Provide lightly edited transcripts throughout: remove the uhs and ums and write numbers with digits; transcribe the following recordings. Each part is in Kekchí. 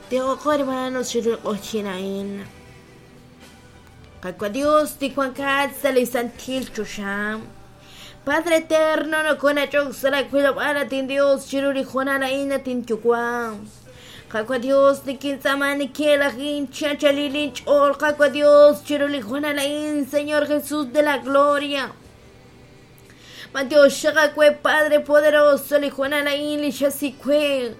Tijoqo hermanos chiru li q'oqyin a'in. Qaawa' Dios li wankat sa' li santil choxa. Padre eterno nokonach'ok sa' laawilob'aal at inDios chiru li hoonal a'in at inYuwa'. Qaawa' Dios nikintz'aama nikelajin chi anchalil inch'ool Qaawa' Dios chiru li hoonal a'in Señor Jesús de la Gloria. B'antiox xaq aawe Padre poderoso li hoonal a'in li xasik we.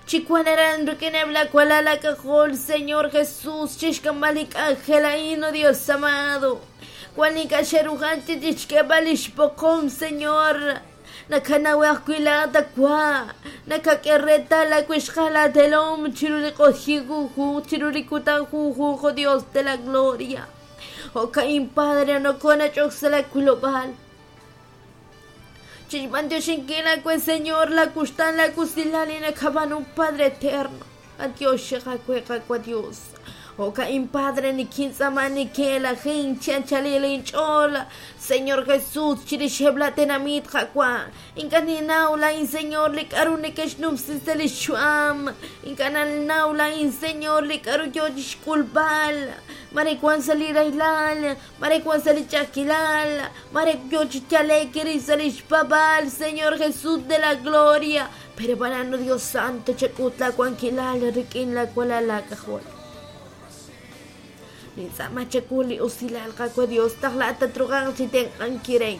Chi wan aran rik'ineb' laawalal aak'ajol Señor Jesús chixk'amb'al li k'anjel a'in, oh Dios amado. Wan li ink'a' xe'ruhan chi chixk'eeb'al lix b'oqom, Señor. Nakanaw ajwi' laa'at awa'. Nakak'e reetal laawixqal laatelom chiru li q'oqyink junjunq, chiru li kutan junjunq, oh Dios de la gloria. Jo'ka'in, Padre, nokonach'ok sa' laawilob'aal. Chixb'antioxinkil aawe, Señor, laawuxtaan, laawusilal li nakab'aanu, Padre eterno. B'antiox xaq aawe, Qaawa' Dios. Jo'ka'in, Padre, nikintz'aama nikelajin chi anchalil inch'ool, Señor Jesús, chirixeb' la tenamit, Qaawa'. Ink'a' ninnaw laa'in, Señor, li k'a'ru neke'xnumsi sa' lix yu'am. Ink'a' ninnaw laa'in, Señor, li k'a'ru yoo chixk'ulb'al. Mare wan sa' li rahilal, mare wan sa' li ch'a'ajkilal, mare yoo chi yale'k rix sa' lix paab'aal, Señor Jesús de la gloria. Pero b'anan, Dios Santo, chak'ut laawankilal rik'in laawalal laak'ajol. Nintz'aama chawu li usilal, Qaawa' Dios, naq laa'at tatruhanq chi tenq'ankil re.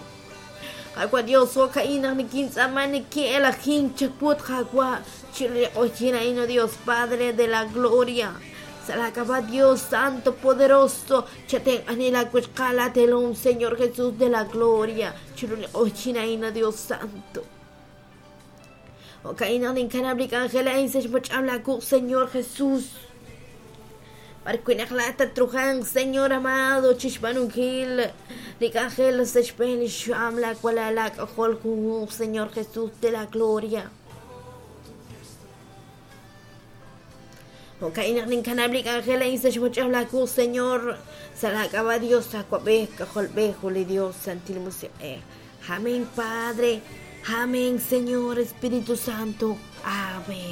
Qaawa' Dios, jo'ka'in naq nikintz'aama nikin'elajink chawut, Qaawa', chiru li q'oqyink a'in, oh Dios Padre de la gloria. Sa' laak'ab'a' Dios Santo Poderoso, chatenq'ani laawixqal laatelom, Señor Jesús de la gloria, chiru li q'oqyink a'in, oh Dios Santo. Jo'ka'in naq ninkanab' li k'anjel a'in sa' xmoch'am laawuq', Señor Jesús. B'ar wi' naq laa'at tatruhanq, Señor amado, chixb'aanunkil li k'anjel sa' xb'een li xyu'am laawalal laak'ajol junjunq, Señor Jesús de la gloria. Jo'ka'in naq ninkanab' li k'anjel a'in sa' xmoch'am laawuq', Señor, sa' laak'ab'a' Dios Awab'ej, K'ajolb'ej, ut li Dios Santil Musiq'ej. Amén, Padre. Amén, Señor Espíritu Santo. Amén.